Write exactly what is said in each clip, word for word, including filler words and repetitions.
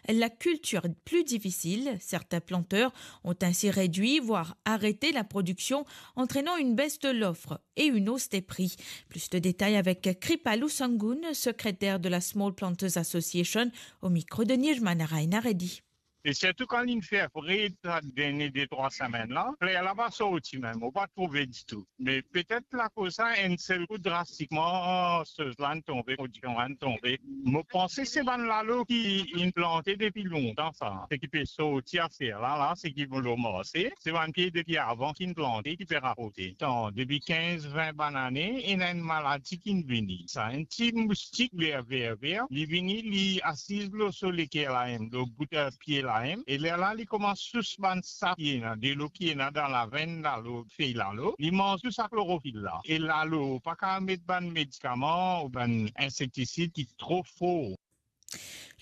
la culture plus difficile. Certains planteurs ont ainsi réduit, voire arrêté la production, entraînant une baisse de l'offre et une hausse des prix. Plus de détails avec Kripalou Sangoon, secrétaire de la Small Planters Association, au micro de Nirmana Rainaredi. E sirtou kan linn fer fre sa dernie de trwa semenn la, fler la pa sorti mem, ou pa trouve ditou. Me petet lakoz sa, enn sel kou drastikman, soz la inn tonbe, prodiksion la inn tonbe. Mo panse se bann lalo ki inn plante depi lontan sa, seki pe sorti aster la, la, seki lor marse, se bann pie depi avan ki inn plante, ki pe raporte. Tan, depi kinz, vin bann ane, ena enn maladi ki'nn vini. Sa enn ti moustik ver, ver, ver, li vini, li asiz lor so leker la mem, lor bout, eh, pie la mem, e lerla li koumans sous bann sap ki ena, delo ki ena dan lavenn la, lor fey lalo, li manz tou sa klorofil la. E lalo, pa kav met bann medikaman ou bann insektisid ki tro for.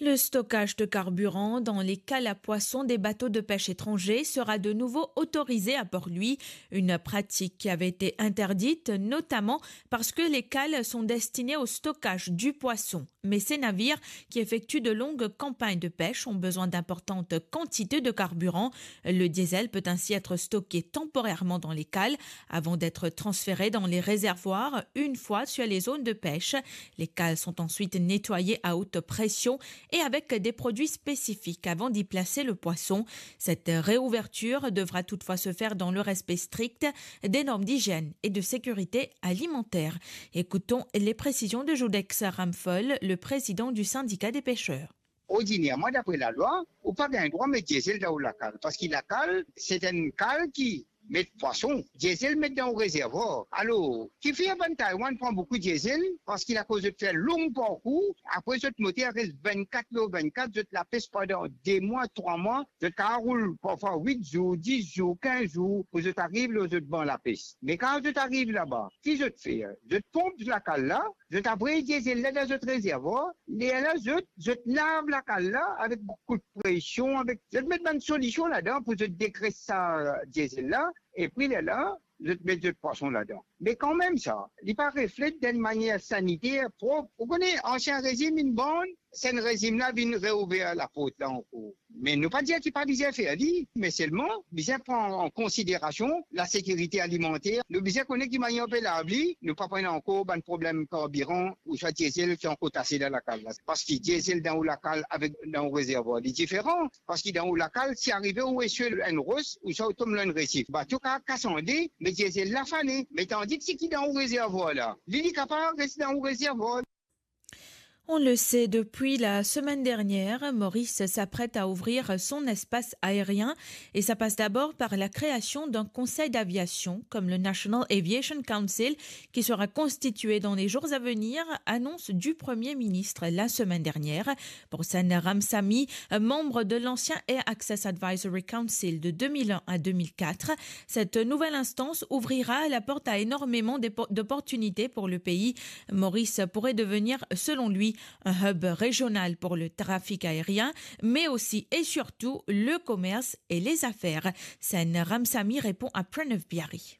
Le stockage de carburant dans les cales à poissons des bateaux de pêche étrangers sera de nouveau autorisé à Port-Louis, une pratique qui avait été interdite, notamment parce que les cales sont destinées au stockage du poisson. Mais ces navires qui effectuent de longues campagnes de pêche ont besoin d'importantes quantités de carburant. Le diesel peut ainsi être stocké temporairement dans les cales avant d'être transféré dans les réservoirs une fois sur les zones de pêche. Les cales sont ensuite nettoyées à haute pression et avec des produits spécifiques avant d'y placer le poisson. Cette réouverture devra toutefois se faire dans le respect strict des normes d'hygiène et de sécurité alimentaire. Écoutons les précisions de Jodex Ramphol, le président du syndicat des pêcheurs. Ordinierman, dapre lalwa, ou pa gagn drwa met diesel dan ou lakal, parski lakal, se enn kal ki met pwason, diesel met dan ou rezervwar. Alor, kifer bann Taiwan pran boukou diesel? Parski lakoz zot fer long parkour, apre zot moter res vennkat lor vennkat, zot lapes pandan de mwa, trwa mwa, zot kav roul parfwa wit zour, dis zour, kinz zour, pou zot ariv lor zot ban lapes. Me kan zot ariv laba, ki zot fer? Zot ponp lakal la, zot avoy diesel la dan zot rezervwar, lerla zot, zot lav lakal la avek boukou presion, avek, zot met bann solision ladan pou zot degres sa diesel la, epi lerla, zot met zot pwason ladan. Me kanmem sa, li pa reflet dan enn manier saniter, prop. Ou kone, ansien rezim inn bann, sa enn rezim la vinn reouver laport la ankor. Me nou pa dir ki pa bizin fer li, me selman bizin pran an konsiderasion lasekirite alimanter. Nou bizin kone ki manier nou pe lav li, nou pa pran ankor bann problem karbiran ouswa diesel ki ankor tase dan lakal la. Parski diesel dan ou lakal avek dan ou rezervwar, li diferan. Parski dan ou lakal, si arive ou eswe enn ros, ouswa ou tom lor enn resif, bato kav kas ande, me diesel la fane. Me tandis ki dan ou rezervwar la, li, li kapav res dan ou rezervwar. On le sait, depuis la semaine dernière, Maurice s'apprête à ouvrir son espace aérien et ça passe d'abord par la création d'un conseil d'aviation comme le National Aviation Council qui sera constitué dans les jours à venir, annonce du Premier ministre la semaine dernière. Pour Sen Ramsamy, membre de l'ancien Air Access Advisory Council de deux mille un à deux mille quatre, cette nouvelle instance ouvrira la porte à énormément d'oppo-, d'opportunités pour le pays. Maurice pourrait devenir, selon lui, un hub régional pour le trafic aérien, mais aussi et surtout le commerce et les affaires. Sen Ramsamy répond à Pranav Biari.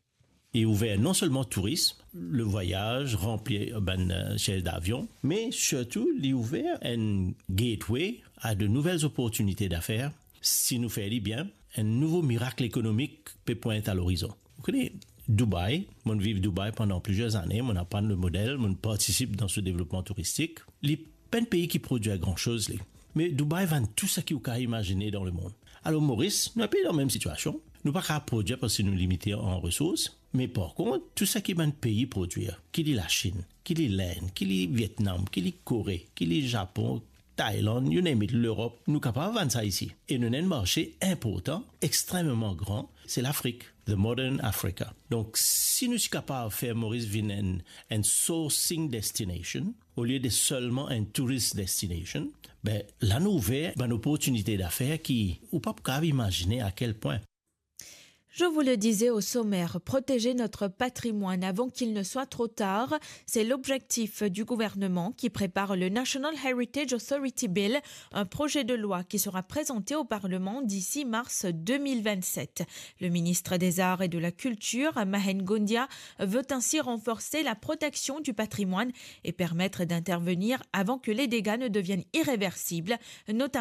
Li ouver non selman tourism, le vwayaz, ranpli bann, euh, siez davion, me sirtou li ouver enn gateway a de nouvel oportinite dafer. Si nou fer li bien, enn nouvo mirak ekonomik pe pwint a lorizon. Ou kone, Dubai, mo'nn viv Dubai pandan plizier zane, mo'nn aprann le model, mo'nn partisip dan so devlopman touristik. Li pa enn pei ki prodwir gran soz, li. Me Dubai vann tou seki ou kav imazine dan lemond. Alor, Moris, nou enpe dan mem sitiasion. Nou pa kav prodwir parski nou limite an resours. Me par kont, tou seki bann pei prodwir, ki li Lasinn, ki li Lenn, ki li Vietnam, ki li Kore, ki li Zapon, Tailann, you name it, Lerop, nou kapav vann sa isi. E nou ena enn marse inportan, extrememan gran, se Lafrik, the modern Africa. Donk, si nou ti kapav fer Moris vinn enn, enn sourcing destination, olie de selman enn tourist destination, be, la nou ouver bann oportinite dafer ki ou pa pou kav imazine a kel pwin. Je vous le disais au sommaire, protéger notre patrimoine avant qu'il ne soit trop tard, c'est l'objectif du gouvernement qui prépare le National Heritage Authority Bill, un projet de loi qui sera présenté au Parlement d'ici mars deux mille vingt-sept. Le ministre des Arts et de la Culture, Mahen Gondia, veut ainsi renforcer la protection du patrimoine et permettre d'intervenir avant que les dégâts ne deviennent irréversibles, notamment